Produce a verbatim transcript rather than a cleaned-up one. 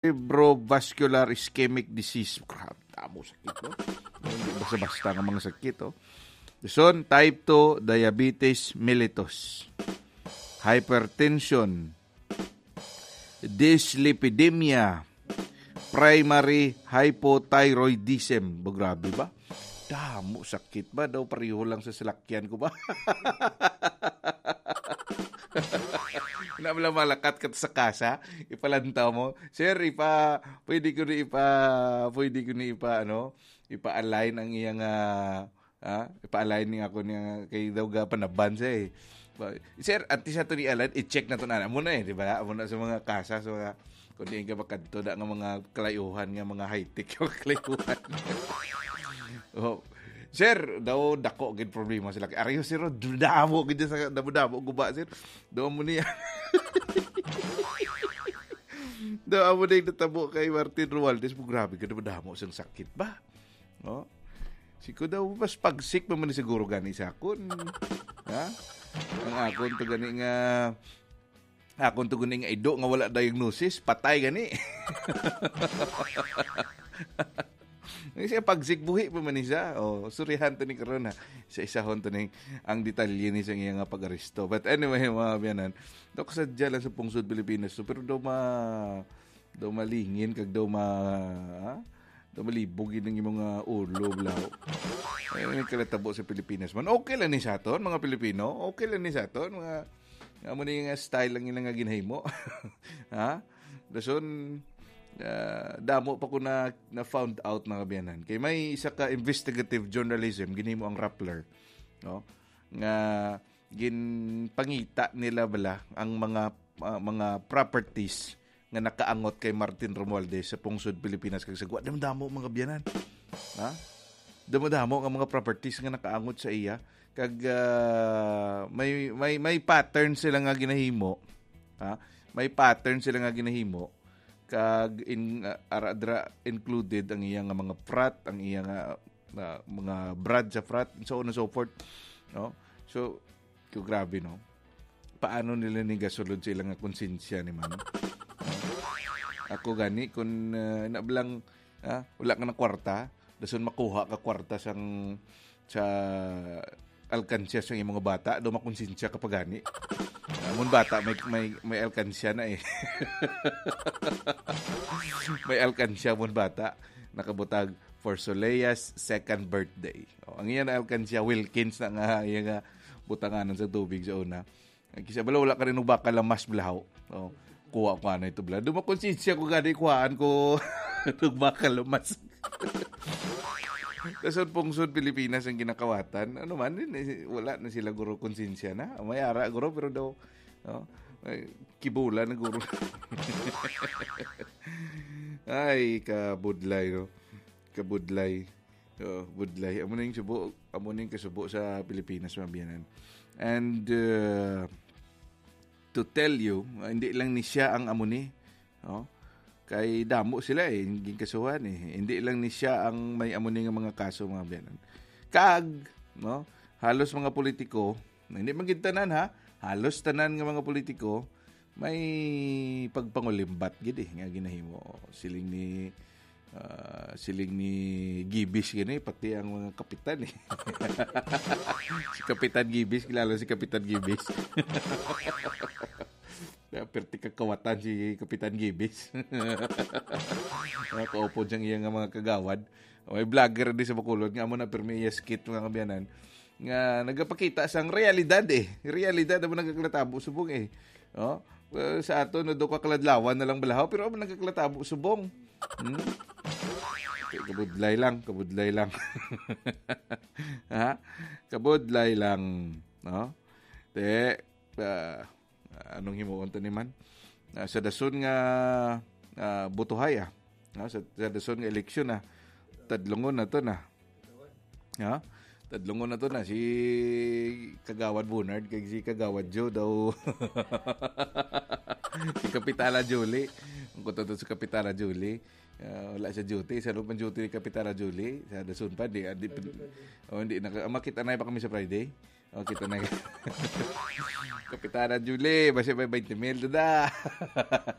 cerebrovascular ischemic disease. Grabe, damo sakit, no? Hindi basta-basta nga mga sakit, oh. Dason, type two diabetes mellitus, hypertension, dyslipidemia, primary hypothyroidism. Ba, grabe ba? Damo sakit ba? Daw pareho lang sa salakyan ko ba? Na wala malakat ka sa kasa, ipalantaw mo. "Sir, ipa, pwede ko ni ipa, pwede ko ni ipa, ano, ipa-align ang iyang, ah, ah, ipa-align ni ako niya kay daw ga panaban siya eh." Ba, "Sir, antes nato ni align, i-check nato na." Amo na eh, di ba? Amo na sa mga kasa, sa mga, kung di ka makadto, da nga mga kalayuhan, nga mga high-tech yung kalayuhan. Oh. "Sir, daw dako gid problema sila. Ariyo, sir, damo gid sa, damo-damo guba, sir. Daw mo niya." Daw amo na yung natabo kay Martin Romualdez. Grabe ka naman, damo sang sakit ba? No? Si ko daw, mas pagsik pa man siguro gani sa akon. Ha? Ang akon to gani nga, akon to gani nga ido nga wala diagnosis, patay gani. Ang siya pagsik, buhi pa man ni siya. Oh, surihan to ni karon, ha. Sa isahon to ni ang detalye ni sa iya nga pag-aresto. But anyway, mga biyanan, dok, sadya lang sa pungsod Pilipinas to, pero daw ma, daw malingin kag daw ma, ha? Daw malibog yun ang imong, ah, ulo, blaw. Ay, may kalatabo sa Pilipinas man. Okay lang ni sa aton, mga Pilipino. Okay lang ni sa aton, mga, nga mo ni nga style lang yun nga ginahimo. Ha? Dason, ah, damo pa ko na, na found out, mga biyanan. Kay may isa ka investigative journalism, ginhimo ang Rappler, no? Nga ginpangita nila bala ang mga, ah, mga properties nga nakaangot kay Martin Romualdez sa pungsod Pilipinas kag sa Guam. Damo-damo, mga biyanan. Ha? Damo-damo nga mga properties nga nakaangot sa iya. Kag, ah, may, may, may pattern sila nga ginahimo. Ha? May pattern sila nga ginahimo. Kag in, ah, ara-, dra-, included ang iya nga mga frat, ang iya nga, ah, mga brad sa frat, and so on and so forth. No? So, ko, grabe, no? Paano nila ni gasulod sa ilang nga konsensya ni man? Ako gani, kung, ah, na bala, ah, wala ka na kwarta, dason makuha ka kwarta sang, sa alkansya sa imong mga bata, daw makonsensya ka pa gani. Ah, amon bata, may, may, may alkansya na eh. May alkansya amon bata, nakabutag for Solea's second birthday. Oh, ang iya na alkansya, Wilkins na nga, iya nga butanganan sa tubig sa una. Ang kisa bala, wala ka rin bakal ang mas blaho. Oh, kuha ko ano ito, bala. Dumakonsensya ko gani, kuhaan ko. Itong bakal ang mas. Sa pungsod Pilipinas ang ginakawatan. Ano man, din, eh, wala na sila, guro, konsensya na. May ara, guro, pero daw, no? Ay, kibula na, guro. Ay, kabudlay, no? Kabudlay. Oh, budlay. Amo na yung subo, amo na yung kasubo sa Pilipinas, mga biyanan. And, uh, to tell you, uh, hindi lang ni siya ang amo ni, oh. Kay damo sila eh, yung ginkasuhan eh. Hindi lang ni siya ang may amo ni nga mga kaso, mga biyanan. Kag, no, halos mga politiko, hindi man gid tanan, ha, halos tanan nga mga politiko, may pagpangulimbat gid eh, nga ginahimo. Siling ni, ah, siling ni Gibis gani, pati ang mga kapitan eh. Si Kapitan Gibis, kilala si Kapitan Gibis. Kaya perti kakawatan si Kapitan Gibis. Mga kaupod siyang iya nga mga kagawad. May vlogger di sa Bacolod nga amo na permi iya skit, mga kabiyanan, nga nagapakita sang realidad eh. Realidad ang nagakalatabo subong eh. Oh, well, sa ato, no, do ka kaladlawan na lang balahaw, pero ang nagakalatabo subong. Hmm? Okay, kabudlay lang, kabudlay lang. Ha? Kabudlay lang, no? Te, ah, anong himuon to ni man? Ah, sa dason nga, ah, butuhay, ah. Ah, sa, sa dason nga eleksyon, ah. Tadlungon na to na. Ha? Tadlungon na to na si Kagawad Bernard kag si Kagawad Joe daw. Si Kapitana Julie. Ang kuto to si Kapitana Julie. Ah, wala sa duty. Sa loob ng duty ni Kapitana Julie. Sa dason pa, di, di, oh, hindi na, makita na pa kami sa Friday. Oh, kita na. Kapitana Julie, basta may twenty mil, dada.